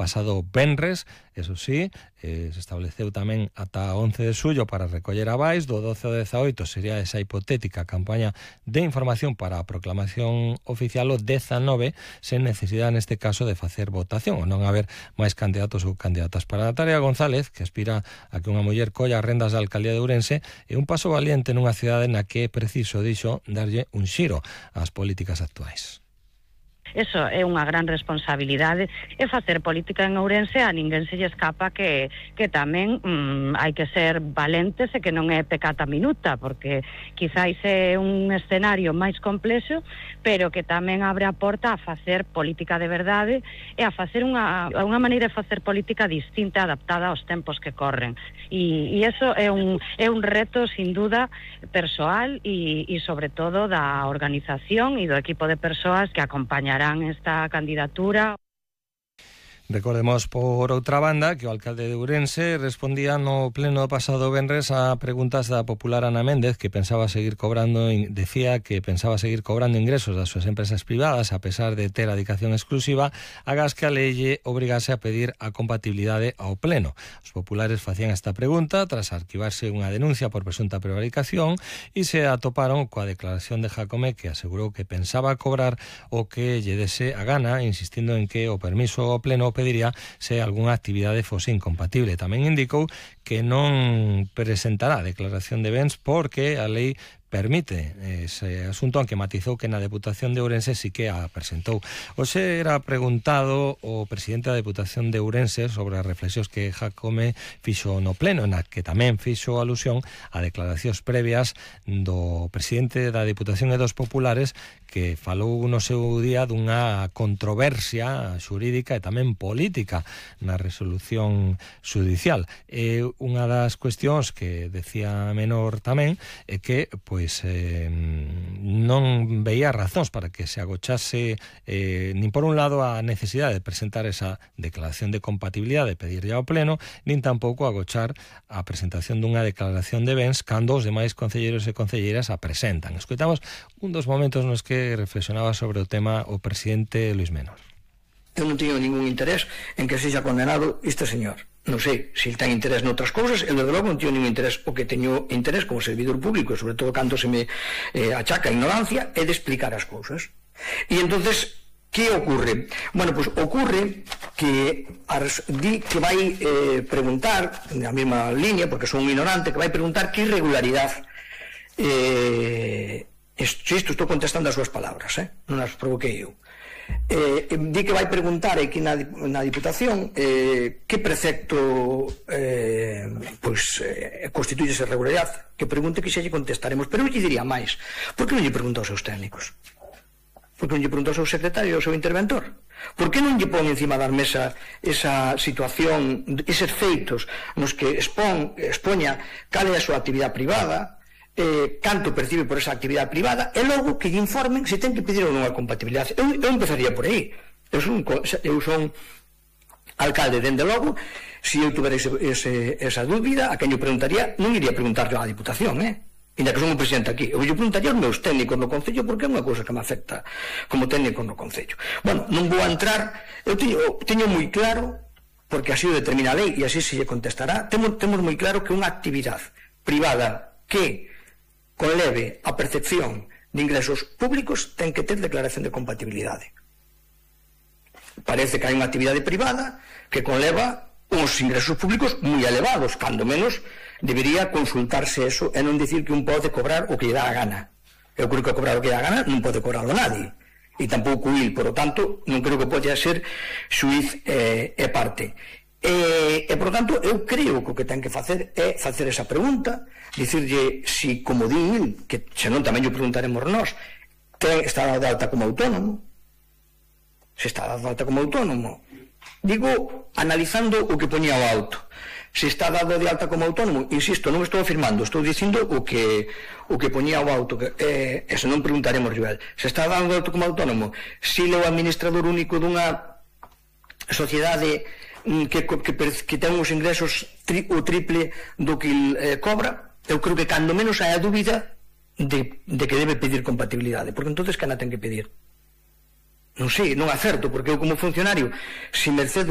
pasado venres, eso sí, se estableceu tamén ata 11 de xullo para recoller avais, do 12 ao 18 sería esa hipotética campaña de información para a proclamación oficial, o 19 sen necesidade neste caso de facer votación, ou non haber máis candidatos ou candidatas. Para Natalia González, que aspira a que unha muller colla as rendas da alcaldía de Ourense, é un paso valiente nunha cidade na que é preciso, dixo, darlle un xiro ás políticas actuais. Eso é unha gran responsabilidade, e facer política en Ourense a ninguén se lle escapa que tamén hai que ser valentes e que non é pecata minuta, porque quizáis é un escenario máis complexo, pero que tamén abre a porta a facer política de verdade e a facer unha maneira de facer política distinta, adaptada aos tempos que corren, e eso é un reto sin duda persoal e sobre todo da organización e do equipo de persoas que acompañarán esta candidatura. Recordemos, por outra banda, que o alcalde de Ourense respondía no pleno do pasado venres a preguntas da popular Ana Méndez, que decía que pensaba seguir cobrando ingresos das súas empresas privadas a pesar de ter a dedicación exclusiva, agás que a lei obrigase a pedir a compatibilidade ao pleno. Os populares facían esta pregunta tras arquivarse unha denuncia por presunta prevaricación e se atoparon coa declaración de Jácome, que asegurou que pensaba cobrar o que lle dese a gana, insistindo en que o permiso ao pleno pediría se algunha actividade fose incompatible. Tamén indicou que non presentará declaración de bens porque a lei permite ese asunto, aunque matizou que na Deputación de Ourense sí que a presentou. Hoxe era preguntado o presidente da Deputación de Ourense sobre as reflexións que Jácome fixo no pleno, na que tamén fixo alusión a declaracións previas do presidente da Deputación e dos populares, que falou no seu día dunha controversia xurídica e tamén política na resolución judicial. Unha das cuestións que decía Menor tamén é que non veía razóns para que se agochase nin por un lado a necesidade de presentar esa declaración de compatibilidade, de pedirlle ao pleno, nin tampouco agochar a presentación dunha declaración de bens cando os demais concelleiros e concelleiras a presentan. Escoitamos un dos momentos nos que reflexionaba sobre o tema o presidente Luís Menor. Eu non teño ningún interés en que sexa condenado este señor. Non sei se ele ten interés noutras cousas, eu desde logo non teño ningún interés. O que teño interés como servidor público, sobre todo cando se me achaca a ignorancia, é de explicar as cousas. E entonces, que ocorre? Bueno, pois ocurre que di que vai preguntar, na mesma línea, porque son un ignorante, que vai preguntar que irregularidade isto estou contestando as súas palabras, non as provoquei eu. Di que vai preguntar aquí na Diputación que precepto constituye esa irregularidade, que pregunte, que xa lle contestaremos, pero eu lle diría máis. Por que non lle pregunta aos seus técnicos? Por que non lle pregunta ao seu secretario, ao seu interventor? Por que non lle pon encima da mesa esa situación, eses feitos nos que expoña cal é a súa actividade privada, canto percibe por esa actividade privada, e logo que lle informen se ten que pedir ou non a compatibilidade. Eu empezaría por aí. Eu son alcalde, dende logo, se eu tuvera esa dúbida, a quen eu preguntaría, non iría preguntarle á Diputación, ainda que son o presidente aquí. Eu lle preguntaría aos meus técnicos no Concello, porque é unha cousa que me afecta como técnico no Concello. Bueno, non vou a entrar, eu teño moi claro, porque así o determina a lei e así se lle contestará, temos moi claro que unha actividade privada que conleve a percepción de ingresos públicos ten que ter declaración de compatibilidade. Parece que hai unha actividade privada que conleva uns ingresos públicos moi elevados, cando menos debería consultarse eso e non dicir que un pode cobrar o que lle dá a gana. Eu creo que cobrar o que lle dá a gana non pode cobrarlo nadie, e tampouco il, por lo tanto non creo que pode ser xuiz e parte. E, por tanto, eu creo que o que ten que facer é facer esa pregunta, dicirlle si, como di il, que senón tamén lle preguntaremos nós, está dado de alta como autónomo, se está dado de alta como autónomo, digo, analizando o que poñía o auto, se está dado de alta como autónomo, insisto, non estou afirmando, estou dicindo o que poñía o auto, e se non preguntaremos Joel, se está dado de alta como autónomo, se é o administrador único dunha sociedade que ten uns ingresos o triple do que cobra, eu creo que cando menos hai a dúbida de que debe pedir compatibilidade, porque entonces que na ten que pedir? Non sei, non acerto, porque eu como funcionario, se merced